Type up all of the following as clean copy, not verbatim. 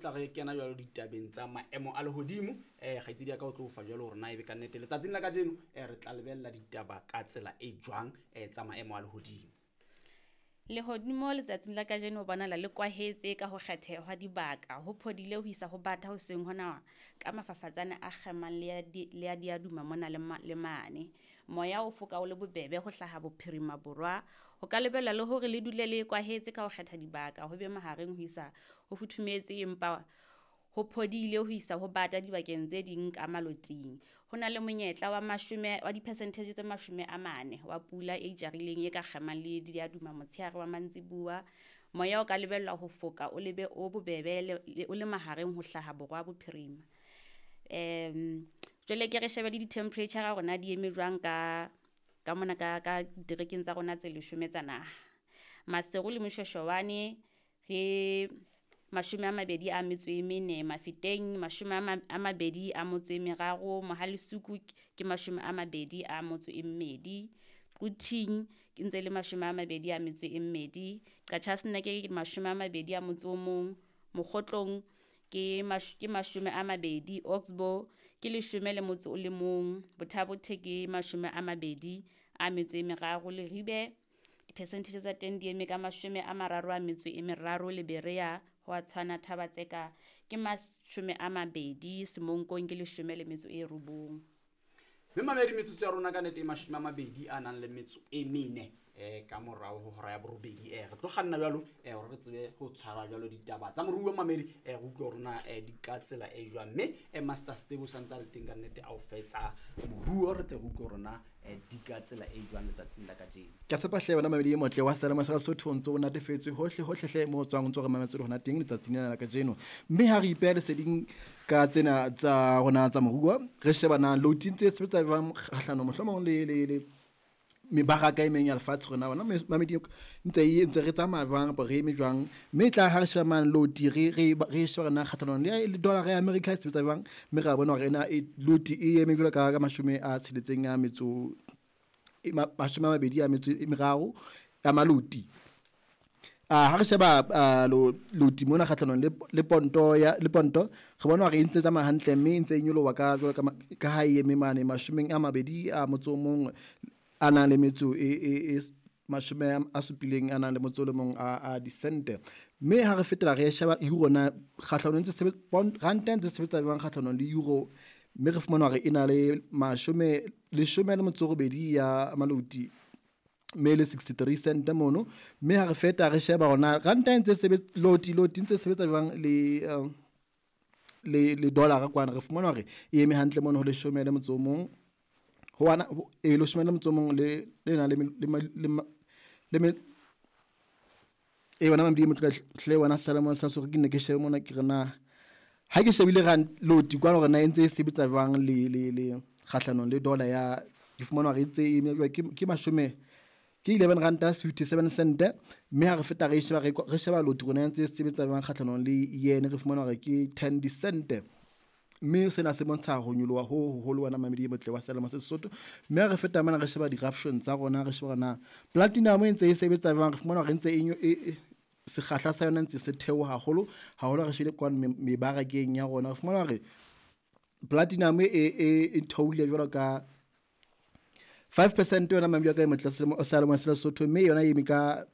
Tla re kena jwalo ditabeng tsa maemo a lehodimo. Kgaitsedi ya ka o tlo fa jwalo hore na ebe kannete letsatsing la kajeno re tla lebella ditaba ka tsela e jwang tsa maemo a lehodimo. Lehodimo letsatsing la kajeno ho bonahala le kwahetse ka ho kgetheha hwa dibaka, ho phodile ho isa ho bata hoseng hona ka mafafatsane a kgemang le a diaduma mona le mane. Moya o foka o le bobebe ho hlaha bophirima borwa. Ho ka lebellwa le hore le dule le kwahetse ka ho kgetha dibaka, ho be mahareng ho isa ho futhumetse empa ho phodile ho isa ho bata dibakeng tse ding ka maloting. Ho na le monyetla wa dipercentage tse 40 wa pula e itjarileng e ka kgemang le diaduma motshehare wa mantsiboya. Moya o ka lebellwa ho foka o lebe o bobebe o le mahareng ho hlaha borwa bophirima. Jwale ke re shebe le di-temperature hore na di eme jwang ka mona ka diterekeng tsa rona tse 10 tsa naha. Maseru le Moshweshwane re 24, Mafeteng 23, Mohale'Shoek ke 22, Quthing ke ntse le 22, Qacha's Nek ke 21, Mokgotlong ke 20, Oxbow ke 11, Botha-Bothe ke 23, Leribe dipercentage tsa teng di eme ka 33, le Berea ho a tshwana, Thaba-Tseka ke 20, Semonkong ke 19. Mme mamedi, metsotso ya rona ka nnete e 24 ka morao ho hora ya 8. Re tlo kganna jwalo hore re tsebe ho tshwara jwalo ditaba tsa moruo mamedi, re utlwe hore na di ka tsela e jwang. Mme Master Steve o santse a le teng ka nnete a o fetsa moruo, re tle re utlwe hore na di ka tsela e jwang letsatsing la kajeno. Ke a tshepa hle wena mamedi e motle wa Sealemoya sa Lesotho o ntso o natefetswe hohle hohle hle mo o tswang o ntso re mametse le hona teng letsatsing lena la kajeno. Mme ha re ipeha leseding ka tsena tsa rona tsa moruo, re sheba na loading tse sebetsa jwang kgahlano mohlomong le mebaraka e meng ya lefatshe rona ona mamedi ntse e ntse re tsamaya jwang kapa re eme jwang. Mme e tla ha re sheba mane loti re sheba na kgahlanong le dollar ya America e sebetsa jwang, mme ra bona hore ena e loti e eme jwalo ka 63 23 ya maloti. Ha re sheba loti mona kgahlanong le ponto ya le ponto, re bona hore e ntse tsamaya hantle mme e ntse e nyoloha ka jwalo ka ha e eme mane 21 a nang le metso e 71 a disente. Mme ha re fetela re sheba euro na kgahlanong ntse sebetsa ranta ntse sebetsa jwang kgahlanong le euro, mme re fumana hore e na le 18 ya maloti mme le 63 cent mono. Mme ha re feta re sheba hore ranta ntse sebetsa loti ntse sebetsa jwang le dollar kwana, re fumana hore e eme hantle mono ho 11 ho ana e 11 le na le e wena mamedi motho hle wena Sealemoya sa Lesotho, ke ne ke shebe mona ke re na ha ke shebile rand loti kwana hore na e ntse e sebetsa jwang le kgahlanong le dollar ya, ke fumana hore e ntse e eme ke mashome ke 11 ranta 57 cent. Mme ha re feta re sheba re sheba loti rona e ntse e sebetsa jwang kgahlanong le yen, re fumana hore ke 10 cent. Mme sena se bontsha ho nyoloha ho hoholo wena mamedi e motle wa Sealemoya sa Sesotho. Mme ha re feta mona re sheba di-ruption tsa rona, re sheba na platinum e ntse e sebetsa jwang, re fumana hore ntse e sekgahla sa yona ntse se theoha haholo haholo. Re shebile kwano mebarakeng ya rona, re fumana hore platinum e theohile jwalo ka 5% yona mamedi wa ka e motle Sealemoya sa Lesotho, mme yona e eme ka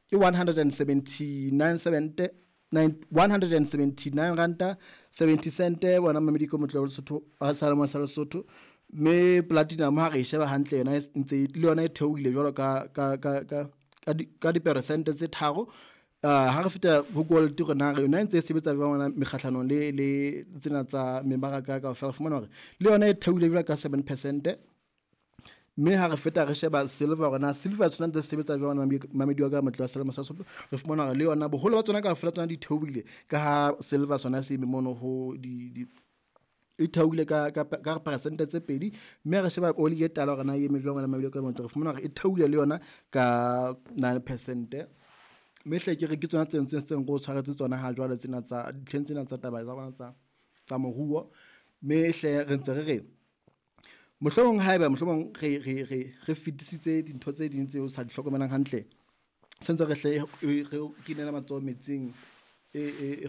ke 179 179 ranta 70 cent bona mamedi ko motle wa Lesotho Sealemoya sa Lesotho. Mme platinum ha re sheba hantle yona ntse le yona e theohile jwalo ka diperesente tse 3. Ha re feta ho gold rona re yona ntse e sebetsa jwang ona mekgahlanong le tsena tsa mebaraka kaofela, re fumana hore le yona e theohile jwalo ka 7%. Mme ha re feta re sheba silver rona, silver tsona ntse sebetsa jwang mamedi wa ka motle wa Sealemoya sa Lesotho, re fumana hore le yona boholo ba tsona kaofela tsona di theohile ka ha silver sona se eme mono ho di e theohile ka percent tse 2. Mme ha re sheba oli e tala hore na e eme jwang mamedi wa ka motle, re fumana hore e theohile le yona ka 9%. Mme hle ke re ke tsona tse ntseng re o tshwaretse tsona ha jwale tsena tsa ditlheng tsena tsa taba tsa rona tsa moruo. Mme hle re ntse re re mohlomong haeba mohlomong re fetisitse dintho tse ding tseo sa di hlokomelang hantle, sentse re hle re kinela matsoho metsing e